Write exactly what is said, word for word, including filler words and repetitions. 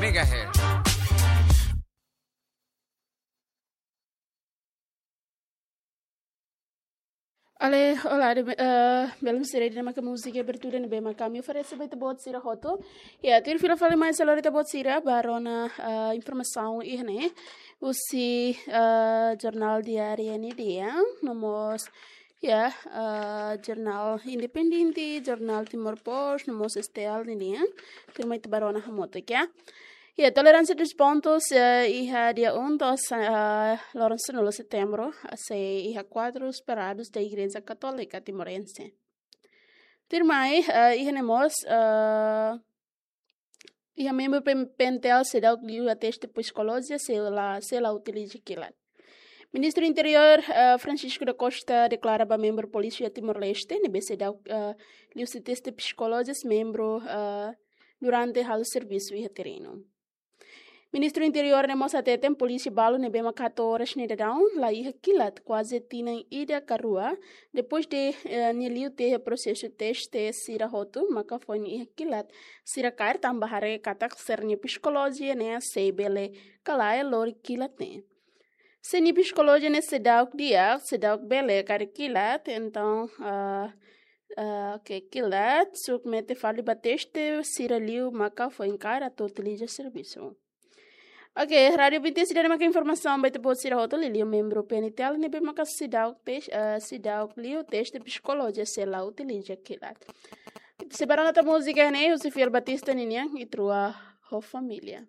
megahertz. Ale, olá, de, eh, belun sira, ida-ne'e maka múzika abertura ne'ebé mak ami oferese ba ita-boot sira hotu. Ya, tuir fila fali mai ha'u lori ita-boot sira ba rona, eh, informasaun iha ne'e. Husi, eh, jornál diáriu N D N, no mós, ya, eh, jornál Independente, jornál Timor Post, no mós S T L nian. Tuirmai ita ba rona hamutuk, ya. Ya, tolerância dos pontos, eh, iha dia um to'o, eh, loron sanulu setembru, sei iha kuadru esperados da Igreja Católica Timorense. Tuirmai, eh, iha ne'e mós, eh, iha membru P-, P N T L seidauk liu teste psikolojia, sei la, sei la utiliza kilat. Ministru Interiór, eh, Francisco da Costa deklara ba membru Polísia Timor-Leste, ne'ebé seidauk, eh, liu teste psikolojia membru, eh, durante halo servisu iha terrenu. Ministru Interiór ne'e mós hateten polísia balu ne'ebé mak hato'o oras ne'e daudaun la iha kilat kuaze tinan ida ka rua, depois de, eh, nia liu iha prosesu teste sira hotu, maka foin iha kilat sira kaer tanba haree katak sira-nia psikolojia ne'e sei bele ka lae lori kilat ne'e. Se nia psikolojia ne'e seidauk di'ak, seidauk bele kaer kilat, entaun, ah, ah, oke, kilat, submete fali ba teste, sira liu maka foin kaer atu utiliza servisu. Oke, Rádio Binti seidauk maka informasaun ba ita-boot sira hotu, liuliu membru P N T L ne'ebé maka seidauk tes-, ah, seidauk liu teste psikolojia sei la utiliza kilat. Ita sei ba rona tan múzika ne'e, husi Fiel Batista nian, Ita Rua ho Família.